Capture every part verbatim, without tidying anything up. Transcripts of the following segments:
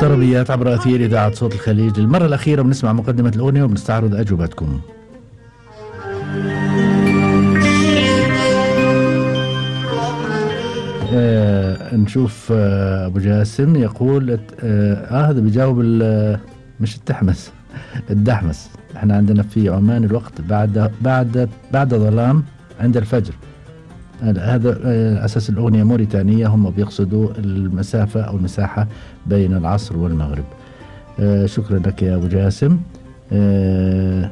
طربيات عبر أثير إذاعة صوت الخليج. للمرة الأخيرة بنسمع مقدمة الأغنية وبنستعرض أجوبتكم. آه نشوف آه أبو جاسم يقول آه, آه هذا بيجاوب مش التحمس الدحمس. احنا عندنا في عمان الوقت بعد بعد بعد ظلام عند الفجر. هذا أساس الأغنية موريتانية، هم بيقصدوا المسافة أو المساحة بين العصر والمغرب. آه شكرا لك يا أبو جاسم. آه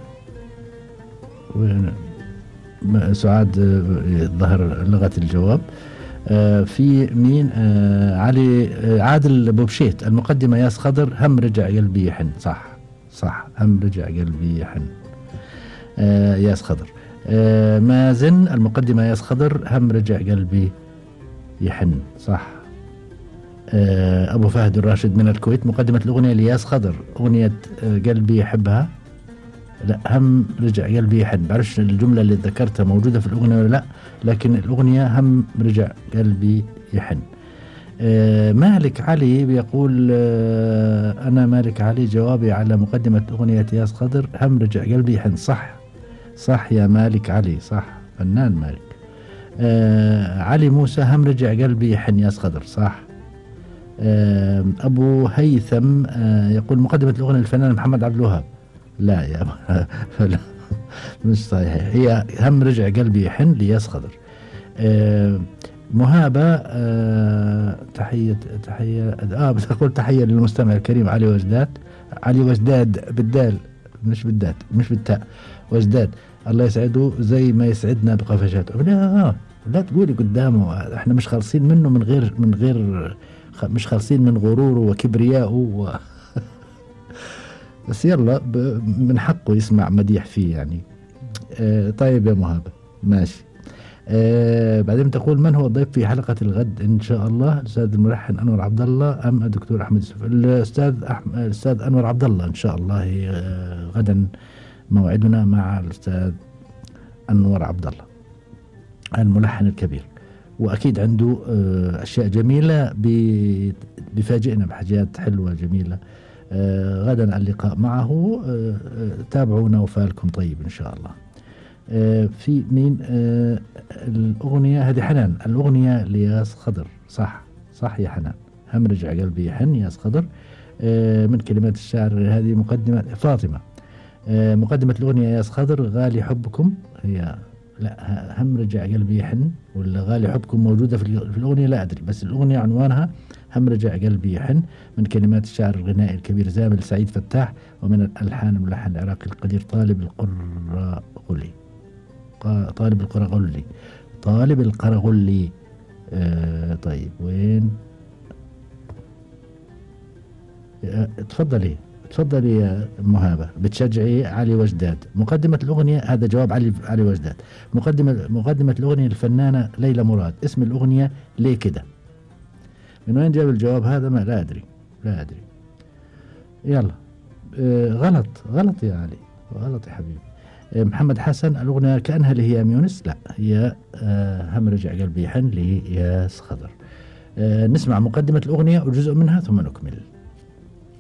سعاد ظهر لغة الجواب. آه في مين؟ آه علي آه عادل بوبشيت. المقدمة ياس خضر هم رجع قلبي يحن. صح صح هم رجع قلبي يحن. آه ياس خضر. آه مازن المقدمة ياس خضر هم رجع قلبي يحن. صح. آه أبو فهد الراشد من الكويت مقدمة الأغنية لياس خضر أغنية آه قلبي يحبها. لا هم رجع قلبي يحن. بعرفش الجملة اللي ذكرتها موجودة في الأغنية ولا لا، لكن الأغنية هم رجع قلبي يحن. آه مالك علي بيقول آه أنا مالك علي جوابي على مقدمة أغنية ياس خضر هم رجع قلبي يحن. صح صح يا مالك علي، صح فنان مالك. آه علي موسى هم رجع قلبي يحن ياس خضر. صح. آه أبو هيثم آه يقول مقدمة الأغنية للفنان محمد عبد الوهاب. لا يا لا مش صحيح، هي هم رجع قلبي يحن لياس خضر. آه مهابة آه تحية تحية اه بتقول تحية للمستمع الكريم علي وجداد. علي وجداد بالدال مش بالدات مش بالتاء. وجداد الله يسعده زي ما يسعدنا بقفشاته. لا لا تقولي قدامه احنا مش خالصين منه من غير من غير مش خالصين من غروره وكبريائه و بس يلا من حقه يسمع مديح فيه يعني. اه طيب يا مهابة ماشي. اه بعدين تقول من هو الضيف في حلقة الغد إن شاء الله؟ الأستاذ الملحن أنور عبد الله أم الدكتور أحمد يوسف؟ الأستاذ أحمد الأستاذ أنور عبد الله إن شاء الله. اه غدا موعدنا مع الأستاذ أنور عبد الله الملحن الكبير، وأكيد عنده اه أشياء جميلة بيفاجئنا بحاجات حلوة جميلة. آه غدا اللقاء معه. آه آه تابعونا وفالكم طيب إن شاء الله. آه في مين؟ آه الأغنية هذه حنان الأغنية لياس خضر. صح صح يا حنان هم رجع قلبي يحن ياس خضر. آه من كلمات الشاعر هذه مقدمة فاطمة. آه مقدمة الأغنية ياس خضر غالي حبكم. هي لا هم رجع قلبي يحن ولا غالي حبكم موجودة في الأغنية لا أدري، بس الأغنية عنوانها هم رجع قلبي يحن من كلمات الشاعر الغنائي الكبير زامل سعيد فتاح، ومن الألحان الملحن العراقي القدير طالب القرغلي. طالب القرغلي طالب القرغلي. آه طيب وين؟ آه تفضلي تفضلي يا مهابة بتشجعي علي وجداد. مقدمة الأغنية هذا جواب علي علي وجداد. مقدمة مقدمة الأغنية الفنانة ليلى مراد. اسم الأغنية ليه كده؟ من وين جاب الجواب هذا؟ ما لا أدري لا أدري. يلا آه غلط غلط يا علي غلط يا حبيبي. آه محمد حسن الأغنية كأنها لهيام يونس. لا هي آه هم رجع قلبي يحن لياس خضر. آه نسمع مقدمة الأغنية وجزء منها ثم نكمل.